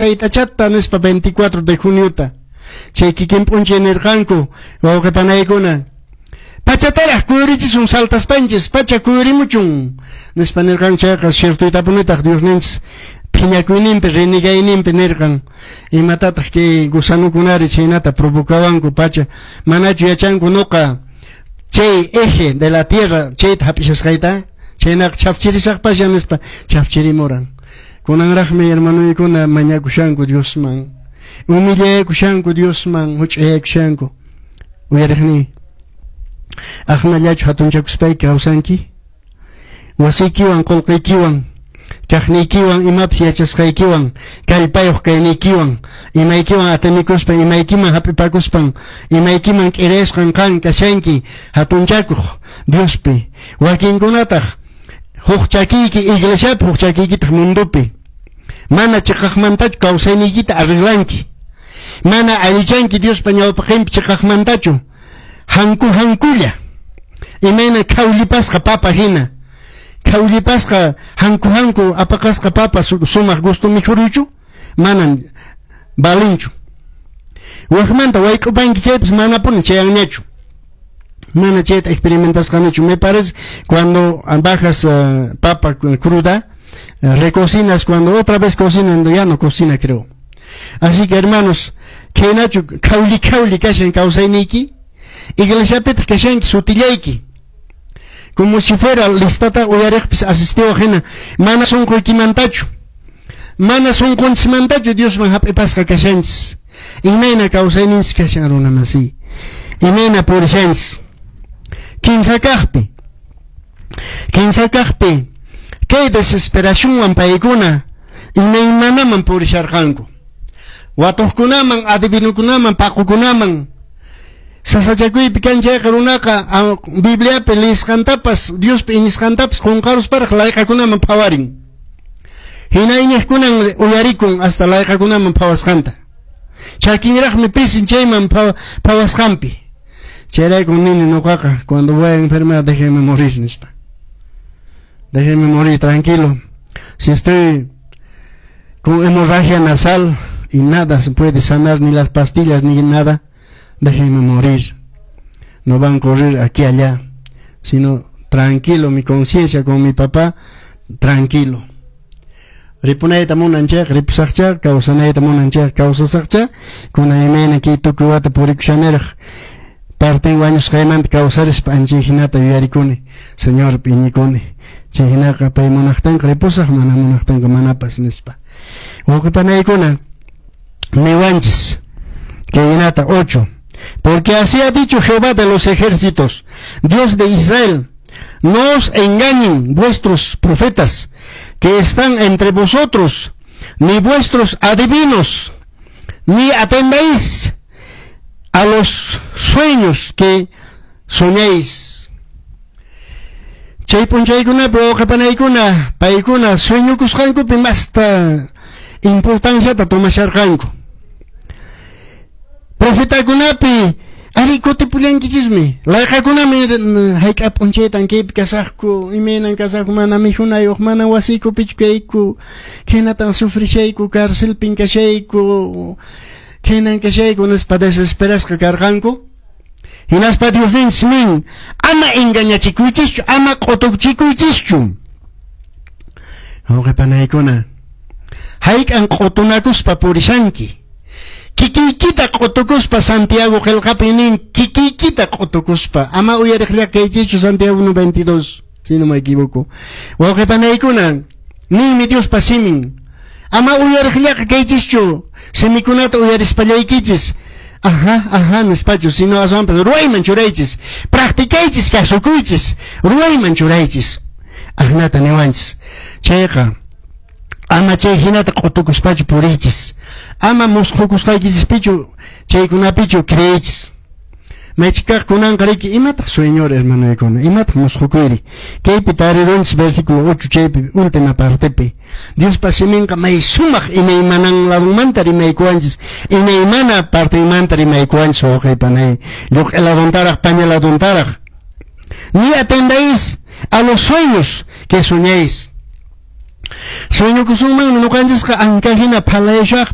Taytachata nispa 24 de juniota. Chay kikin p'unchay nirqanku, wawqi panaykuna, pachataraq kuyurichisun saltaspanchis, pacha kuyurimuchun nispa nirqanku. Chayqa ciertoytapunitaq Diosninchis phiñakuyninpi, renegayninpi nirqan: imatataq kay gusanukunari chhaynata provocawanku pacha? Manachu yachanku nuqa chay eje de la tierra chayta hap'ishasqayta? Chaynaqa chhafchirisaqpasha nispa chhafchirimuran. Kunanraqmi hermanoykuna mañakushanku Diosman, humillayakushanku Diosman, huch'ayakushanku. Uyariqni, aqnallachu hatunchakuspayki kawsanki? Wasiykiwan, qullqiykiwan, kaqniykiwan, imapas yachasqaykiwan, kallpayuq kayniykiwan, imaykiwan atinikuspa, imaykiman hap'ipakuspan, imaykiman k'irayasqan qan kashanki hatunchakuq Diospi? Wakinkunataq huk chakiyki iglesiapi, huk chakiykitaq mundopi. Mana chiqaqmantachu kawsayniykita arreglanki, mana allichanki Diospa ñawpaqinpi chiqaqmantachu, hanku hankulla, imayna khawllipasqa papa hina. Khawllipasqa, hanku hanku apaqasqa papa sumaq gusto mikhuruychu? Manan valinchu. Wakmanta wayk'upanki chaypas manapuni chayanñachu. Mana chayta experimentasqanichu. Me parece cuando bajas papa cruda, recocinas, cuando otra vez cocinan, ya no cocina, creo. Así que, hermanos, khaynachu khawli khawli kashan kawsayniyki? Iglesiapitaq kashanki sutillayki, como si fuera listata uyariqpis asistiwaq hina, mana sunquykimantachu, mana sunqunchismantachu Diosman hap'ipasqa kashanchis. Imayna kawsayninchis kashan, runa masiy? Imayna purishanchis? Kinsa kaqpi, kay desesperacionwan paykuna imaymanaman purisharqanku, watuqkunaman, adivinukunaman, paqukunaman. Sasachakuypi kan chayqa runaqa Bibliapi leesqantapas, Diospi iñisqantapas qunqarusparaq layqakunaman phawarin. Hina iñiqkunan uyarikun hasta layqakunaman phawasqanta. Chakinraqmi pisin chayman phawasqanpi. Chayrayku nini nuqaqa: cuando voy a enfermar, déjenme morir nispa. Déjenme morir tranquilo. Si estoy con hemorragia nasal y nada se puede sanar, ni las pastillas ni nada, déjenme morir. No van a correr aquí allá, sino tranquilo, mi conciencia con mi papá, tranquilo. Ripunayta munan chayqa ripusaqcha, kawsanayta munan chayqa kawsasaqcha. Kunan imayna kay tukuy wata purikushaniraq, partin wañusqaymanta kawsarispa anchay hinata yuyarikuni, Señorpi iñikuni. Chay hinaqa pay munaqtinqa ripusaq, mana munaqtinqa manapas nispa. Wawqi panaykuna, niwanchis kay hinata 8: "Porque así ha dicho Jehová de los ejércitos, Dios de Israel: no os engañen vuestros profetas que están entre vosotros, ni vuestros adivinos, ni atendáis a los sueños que soñéis." Chay p'unchaykunapi, wawqi panaykuna, paykuna sueñokusqankupi masta importanciata tomasharqanku. Profetakunapi ari kutipullankichismi. Layqakunami hayk'a p'unchaytan kaypi kasaqku, imaynan kasaqku, mana mikhunayuq, mana wasiykupichu kayku, khaynatan sufrishayku, carcelpin kashayku, khaynan kashayku nispa desesperasqa karqanku. Hinaspa Diosninchis nin: ama engañachikuychischu, ama q'utuchikuychischu. Wawqi panaykuna, hayk'an q'utunakuspa purishanki? Kikiykita q'utukuspa. Santiago qillqapi nin: kikiykita q'utukuspa, ama uyariqlla kaychischu. Santiago 1:22, si no me equivoco. Wawqi panaykuna, ninmi Diospa simin: ama uyariqllaqa kaychischu, simikunata uyarispallaykichis "aha, aha" nispachu, sino aswanpas ruwayman churaychis, practicaychis, kasukuychis, ruwayman churaychis. Ahnata niwanchis. Chayqa ama chay hinata q'utukuspachu puriychis, ama musqhukusqaykichispichu, chaykunapichu creeychis. Maychikaq kunanqa riki, imataq sueñor, hermanoykuna? Imataq musqhukuyri? Kaypi tarirunchis versículo 8, chaypi última partepi. Diospa siminqa may sumaq, imaymanan ladunmanta rimaykuwanchis, imaymana partenmanta rimaykuwanchis, wawqi panay, lluq'i laduntaraq, paña laduntaraq. Ni atendáis a los sueños que soñáis. Sueñokusunmanmi ñuqanchisqa anka hina phalayashaq.